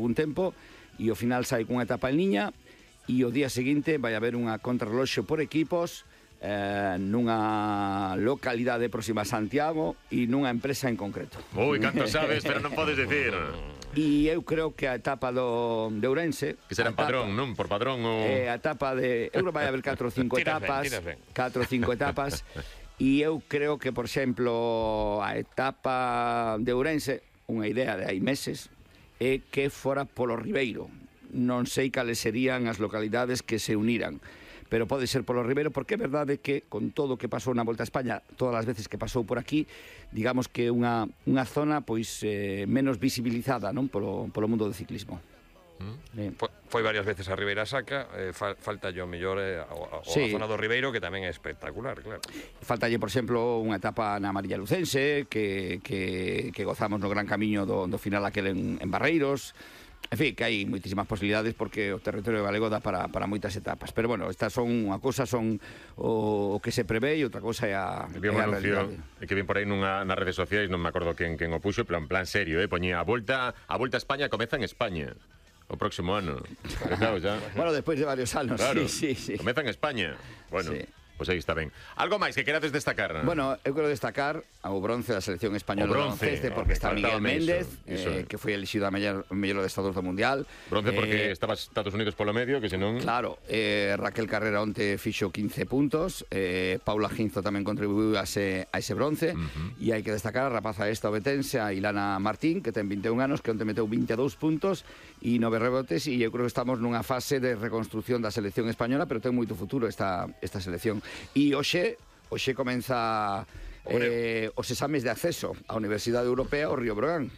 un tempo e ao final sai cunha etapa en liña e o día seguinte vai haber unha contrarreloxo por equipos nunha localidade próxima a Santiago e nunha empresa en concreto. Ui, canto sabes, pero non podes dicir. E eu creo que a etapa de Ourense... Que será en Padrón, non? Por Padrón ou... A etapa de... Eu vai haber 4 ou 5 etapas. 4 ou 5 etapas. E eu creo que, por exemplo, a etapa de Ourense, unha idea de hai meses, é que fora polo Ribeiro. Non sei cales serían as localidades que se uniran, pero pode ser polo Ribeiro, porque é verdade que con todo o que pasou na Volta a España, todas as veces que pasou por aquí, digamos que é unha zona pois menos visibilizada, non, polo mundo do ciclismo. Foi varias veces a Ribeira Sacra, falta yo mellor a zona do Ribeiro, que tamén é espectacular, claro. Faltalle, por exemplo, unha etapa na Amarilla Lucense, que gozamos no gran camiño do final aquel en Barreiros. En fin, que hai moitísimas posibilidades porque o territorio galego dá para moitas etapas. Pero bueno, estas son unha cousa, son o que se prevé e outra cousa é a realidade. É que vin por aí nas redes sociais, non me acordo quen o puxo, pero en plan serio, poñía a Volta a España comeza en España o próximo ano. Claro, ya. Bueno, despois de varios anos, claro, sí. Comeza en España. Bueno, sí. Pois aí está ben. Algo máis que querades destacar? Bueno, eu quero destacar o bronce da selección española de baloncesto, porque está Miguel Méndez, que foi elixido a mellor adestrador do Mundial. Bronce porque estaba Estados Unidos polo medio, que senón... Claro, Raquel Carrera onte fixo 15 puntos, Paula Ginzo tamén contribuiu a ese bronce, e hai que destacar a rapaza esta obetense, a Ilana Martín, que ten 21 anos, que onte meteu 22 puntos e 9 rebotes, e eu creo que estamos nunha fase de reconstrucción da selección española, pero ten moito futuro esta selección. E hoxe comeza os exames de acceso á Universidade Europea ao Río Brogan.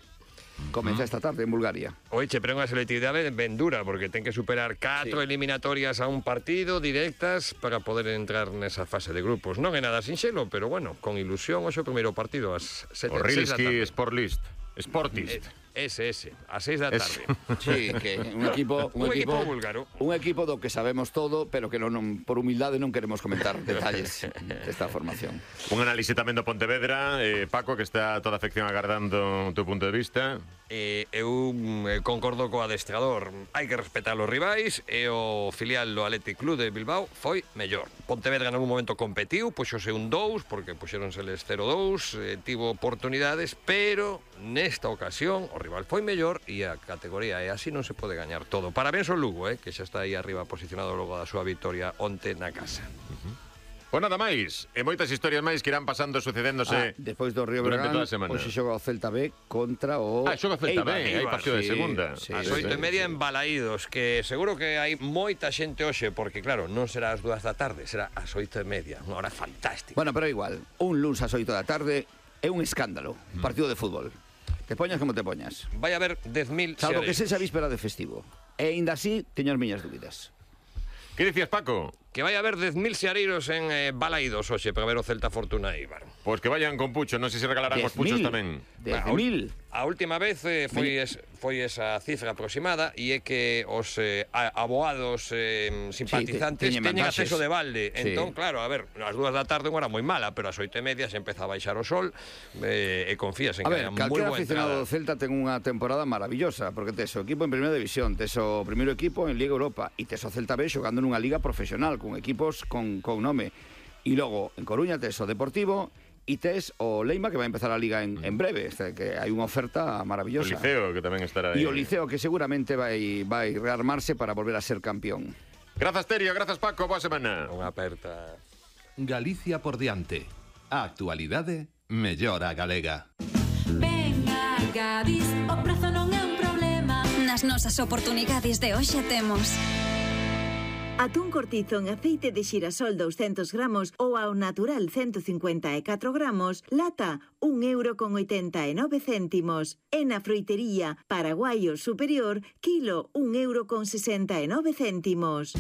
Comeza esta tarde en Bulgaria. Oiche, pero unha selectividade ben dura, porque ten que superar 4 eliminatorias a un partido directas para poder entrar nesa fase de grupos. Non é nada sinxelo, pero bueno, con ilusión, hoxe o primeiro partido ás 7 da tarde. O Rilski Sportist. Ese, a 6 da tarde. Sí, que un equipo búlgaro. Un equipo do que sabemos todo, pero que non, por humildade non queremos comentar detalles desta formación. Un análise tamén do Pontevedra, Paco, que está toda a afección agardando o teu punto de vista. Eu concordo co adestrador. Hai que respetar os rivais, e o filial do Athletic Club de Bilbao foi mellor. Pontevedra nalgún momento competiu, puxose un 2, porque puxéronseles 0-2, tivo oportunidades, pero nesta ocasión o rival foi mellor e a categoría é así, non se pode gañar todo. Parabéns ao Lugo, que xa está aí arriba posicionado logo da súa victoria onte na casa. Pois nada máis, e moitas historias máis que irán pasando, sucedéndose despois do Río Breogán, hoxe xoga o Celta B contra o... xoga o Celta B, hai partido de segunda. As 8:30 en Balaídos, que seguro que hai moita xente hoxe, porque claro, non será ás 2 da tarde, será ás 8:30, unha hora fantástica. Bueno, pero igual, un luns ás 8 da tarde é un escándalo, partido de fútbol. Te poñas como te poñas. Vai haber 10.000 salvo que sexa víspera de festivo. E ainda así, teño as miñas dúbidas. Que dicías, Paco? Que vai haber 10.000 xeareiros en Balaídos hoxe para ver o Celta Fortuna Eibar. Pois que vayan con pucho, non sei se regalarán os puchos tamén. 10.000. A última vez foi esa cifra aproximada, e é que os aboados simpatizantes teñen acceso de balde. Entón, claro, a ver, ás 2 da tarde unha hora moi mala, pero ás 8:30 se empeza a baixar o sol, e confías en que haya moi boa entrada. Aficionado do Celta ten unha temporada maravillosa, porque tes o equipo en Primeira División, tes o primeiro equipo en Liga Europa, e tes o Celta B xogando nunha liga profesional, con equipos con nome. E logo, en Coruña, tes o Deportivo e tes o Leima, que vai empezar a liga en breve, que hai unha oferta maravillosa. O Liceo, que tamén estará aí. E o Liceo, que seguramente vai rearmarse para volver a ser campeón. Grazas, Terio, grazas, Paco, boa semana. Unha aperta. Galicia por diante. A actualidade mellora galega. Venga, Gadis, o prezo non é un problema. Nas nosas oportunidades de hoxe temos atún cortizo en aceite de xirasol 200 gramos ou ao natural 154 gramos, lata 1,89 €. E na froitería Paraguayo Superior, kilo 1,69 €.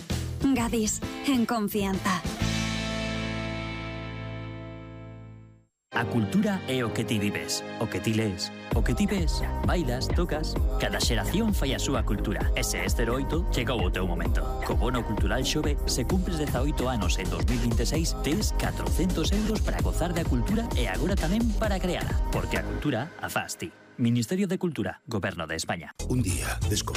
Gadis, en confianza. A cultura é o que ti vives, o que ti lees, o que ti ves, bailas, tocas. Cada xeración fai a súa cultura. Ese é 08, chegou o teu momento. Co bono cultural Xove, se cumpres 18 anos en 2026, tes 400 € para gozar da cultura e agora tamén para creala. Porque a cultura a fas ti. Ministerio de Cultura, Goberno de España. Un día descubrí